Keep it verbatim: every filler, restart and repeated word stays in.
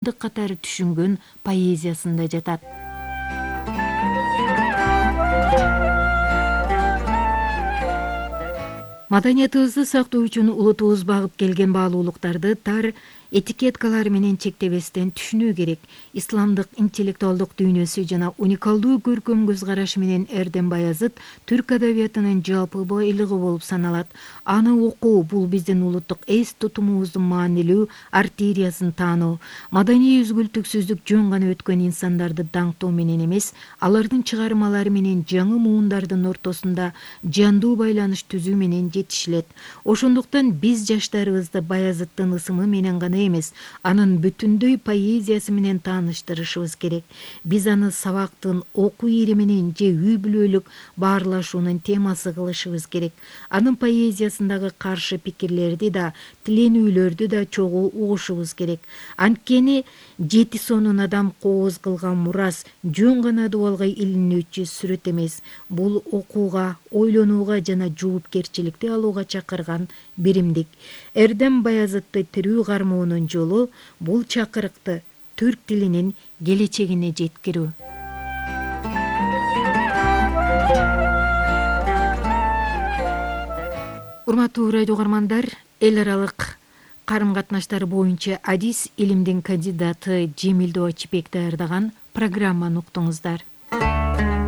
катары түшүнгөн поэзиясында жатат. Маданиятыбызды сактоо үчүн улутубуз багып келген баалуулуктарды тар этикеткалар менен чектебестен түшүнүү керек. Исламдык интеллектуалдык дүйнөсү жана уникалдуу көркөм көз карашы менен Эрдем Баязыт түрк адабиятынын жалпы байлыгы болуп саналат. Аны окуу бул биздин улуттук эс тутумубуздун маанилүү артериясын таануу. Маданий үзгүлтүксүздүк жөн гана өткөн инсандарды даңктоо менен эмес, алардын чыгармалары менен жаңы муундардын ортосунда жандуу байланыш түзүү менен жетишилет. Ошондуктан биз жаштарыбызды Баязыттын ысымы менен гана эмес, анын бүтүндөй поэзиясы менен тааныштырышыбыз керек. Биз аны сабактын окуу ири менен же үй бүлөлүк баарлашуунун темасы кылышыбыз керек. Анын поэзиясындагы каршы пикирлерди да, тиленүүлөрдү да чогуу угушубуз керек. Анткени жети сонун адам кооз кылган мурас жөн гана дубалга илинүүчү сүрөт эмес. Бул окууга, ойлонууга жана жоопкерчиликти алууга чакырган биримдик. Эрдем Баязытты тирүү кармоонун жолу бул чакырыкты түрк тилинин келечегине жеткирүү. Урматтуу радио угармандар, эл аралык карым-катнаштар боюнча адис илимдин кандидаты Жемилдөө Ачыбек даярдаган программаны уктуңуздар.